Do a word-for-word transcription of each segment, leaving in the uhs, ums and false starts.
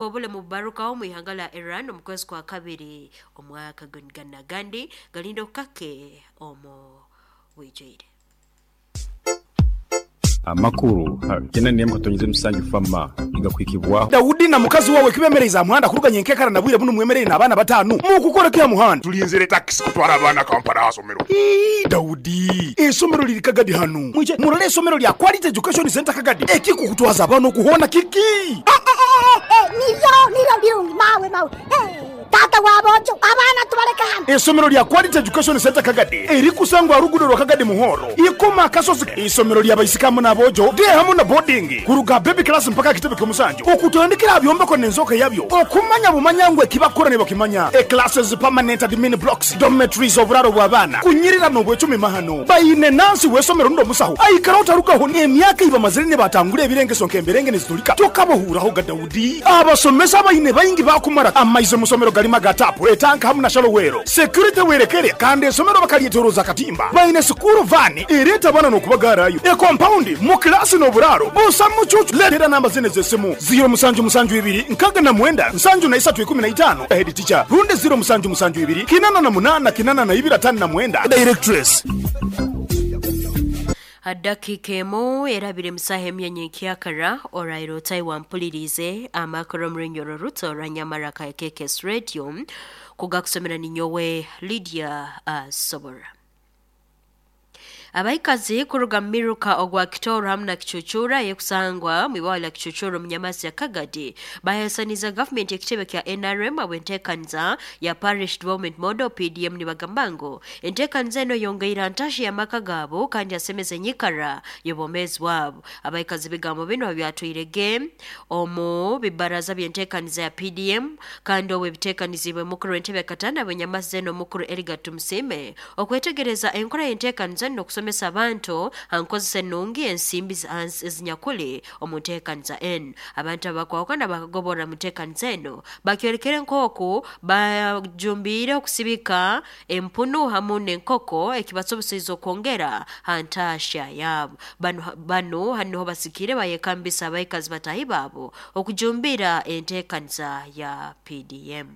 Obulemu bubarukaho mu ihanga lya Iran omu kwezi kwa kabiri omwaka gana gandi galinda okukake omu bwijwire. Amakuru kena nemu katonyize musanju fama igakwikibwaho. Daudi na mukazi wawe kibemereza muhanda kuruganya enkekara na bwire buno mwemerere n'abaana batanu mukukora kya muhanda tulinzire taxi kutwara abaana Kampala asomero. Ii Daudi esomero liri Kagadi hanu mwije murole esomero lya Quality Education Center Kagadi ekikukutwaza abaana okuhona kiki. Nivyo nivyo birungi mawe mawe. Hey, tata wabojo abaana tubaleka hano. Esomero lya Quality Education Center Kagadi erikusangwa rugudo rwa Kagadi Muhoro ikoma kasozi. Isomero lya baisikamu n'abojo de hamu na boarding kuruga baby class mpaka kitebe ky'omusanju okutandikira byombeko n'enzoka yabyo okumanya bumanyangwe kibakora ne bakimanya. E classes permanent admin blocks dormitories oburaro bw'abaana kunyirira n'obwecumi mahano bayine nansi wesomero ndo musaho aikara utarukaho emyaka iba mazire ne batangule ebirengeso nkemberenge nezitulika tokabohuraho ga Daudi. Abasomesa bayine bayingi bakumara amaize musomero galima gatapu etanka hamu na shalowero security werekere kandi esomero bakalietoroza katimba bayine sukuru vani ereta bana nokubagarayo e compound mu class n'oburaro busa mucucu. Letera namba zene zesimu zero musanju musanju ibiri nkaga na mwenda nsanju na isatu ikumi na itano head teacher runde zero musanju musanju ibiri kinana na munana kinana na ibiri atano na mwenda directress. Dakika emu erabire musaha emyenye kyakara orairo Taiwan mpulirize amakuru murenyoro ruto ranyamara ka K K S Radio kugakusomera ninyowe Lydia uh, Sobora. Abaikazi kuruga miruka ogwa Kitoro hamna Kichuchura yekusangwa mwibawa la Kichuchura mnyamazi ya Kagadi bahesaniza government ekitebe kya N R M abwentekanza ya Parish Development Model P D M ni bagambango entekanza eno yongeira ntashi ya maka gabo kandi asemeze nyikara yobomezi wabo. Abaikazi bigambo bino byatwirege omu bibaraza byentekanza ya P D M kandi owe bitekanizibwe mukuru w'entebe katana abanyamazi eno mukuru Edgar Tumusime okwetegereza enkora yentekanza no kusomesa abantu ankozese nungi ensimbi ezinyakuli omunteekaniza eno. Abantu abakwawukana bakagobora munteekaniza eno bakyorekere nk'oku bajumbiire okusibika empunu hamu n'enkoko ekibasoboseize okwongera ha ntaasha yaabo. Bano, bano haniho basikire bayekambisa abaikazi batahi baabo okujumbira enteekaniza ya P D M.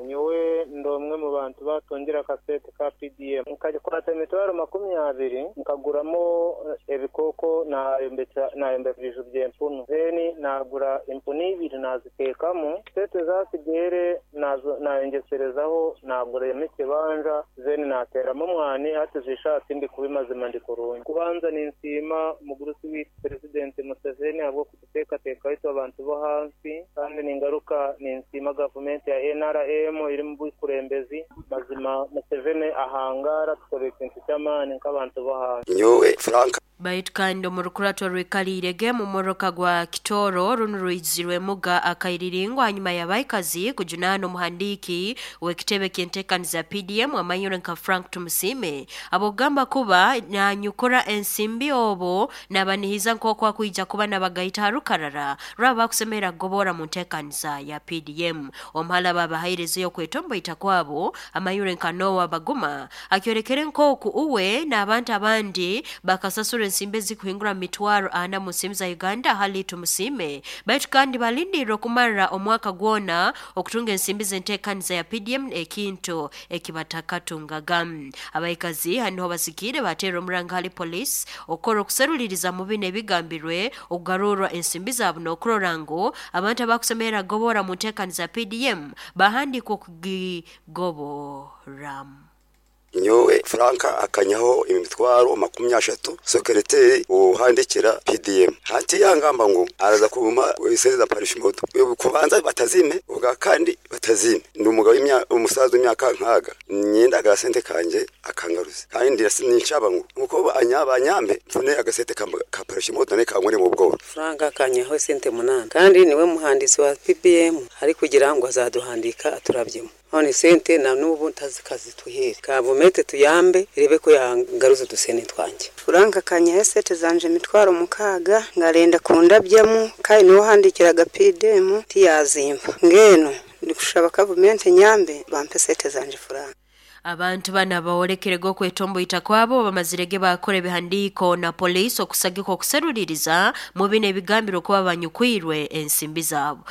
Nyowe ndo umwe mu bantu batongera kasete ka P D M nkagikwata imitwaro makumyabiri nkaguramo ebikoko nayombeka nayombeka ibiju by'empunu zeni nagura empunu ibiri nazitekamo sete zasigere nazo nayongeserezaho nagura emikibanja zeni nateramo mwani hati zishatse ndi kubimazima ndi kurungi. Kubanza ninsima mugurusi w'i President Museveni abwo kututekateka ito abantu bo hansi kandi ningaruka ninsima government ya N R M iri mu bukurembezi mazima Museveni ahangara tukore ikintu cy'amani nk'abantu bo hanze. Nyowe Frank Baitu kandi omurukurato rwekalirege mu moroka gwa Kitoro runo ruizirwe muga akairiringwa hanyuma y'abaikazi kujunana omuhandiki w'ekitebe ky'enteekaniza P D M amanyure nka Frank Tumusime abogamba kuba nanyukora ensimbi obo nabanihiza nk'oku akwija kuba nabagaita harukarara rwaba bakusemera gobora mu nteekaniza ya P D M. Omuhala babahairezeyo kwetomboita kwabo amanyure nka Noah Baguma akyorekere nk'oku uwe n'abantu abandi bakasasura ensimbi zikuhingura mitwaro ana mu nsimbi za Uganda hali Tumusime baitu kandi balindira okumara omwaka gwona okutunga ensimbi z'enteekaniza ya P D M ekintu ekibatakatungaga. Abaikazi haniho basikire batera omuranga hali police okukora okuseruliriza mu bino ebigambirwe okugarurwa ensimbi zaabo n'okurora ngu abantu abakusemera gobora mu nteekaniza ya P D M bahandikwa okugigoboramu. Nyowe Frank akanyaho imitwaro makumi ashatu secretary uhandikira P D M hati yangamba ngo araza kuma iseza parish moto kubanza batazime ubwa kandi batazime ndi umugabo umusaza imyaka nkaga nyenda agasente kanje akangaruze kandi ninshaba ngo nkuko anyabanyambe mfune agasente ka parish moto ne kankore mu bworo. Frank akanyaho sente munana kandi niwe muhandisi wa P B M ari kugira ngo azaduhandika aturabyemo none sente na nubu ntazikazi tuhere kavumete tuyambe irebe ko yangaruza dusene twanje. Frank akanyaho sente zanje mitwaro mukaga ngarenda kundabyamo kandi niwo handikiraga P D M tiyazimba ngeno ndikushaba kavumete nyambe bampe sente zanje Frank. Abantu bana bawolekerege okwetomboita kwabo bamazirege bakora ebihandiiko na poliisi okusagika okuseruliriza mu bino ebigambirwe kuba banyukwirwe ensimbi zaabo.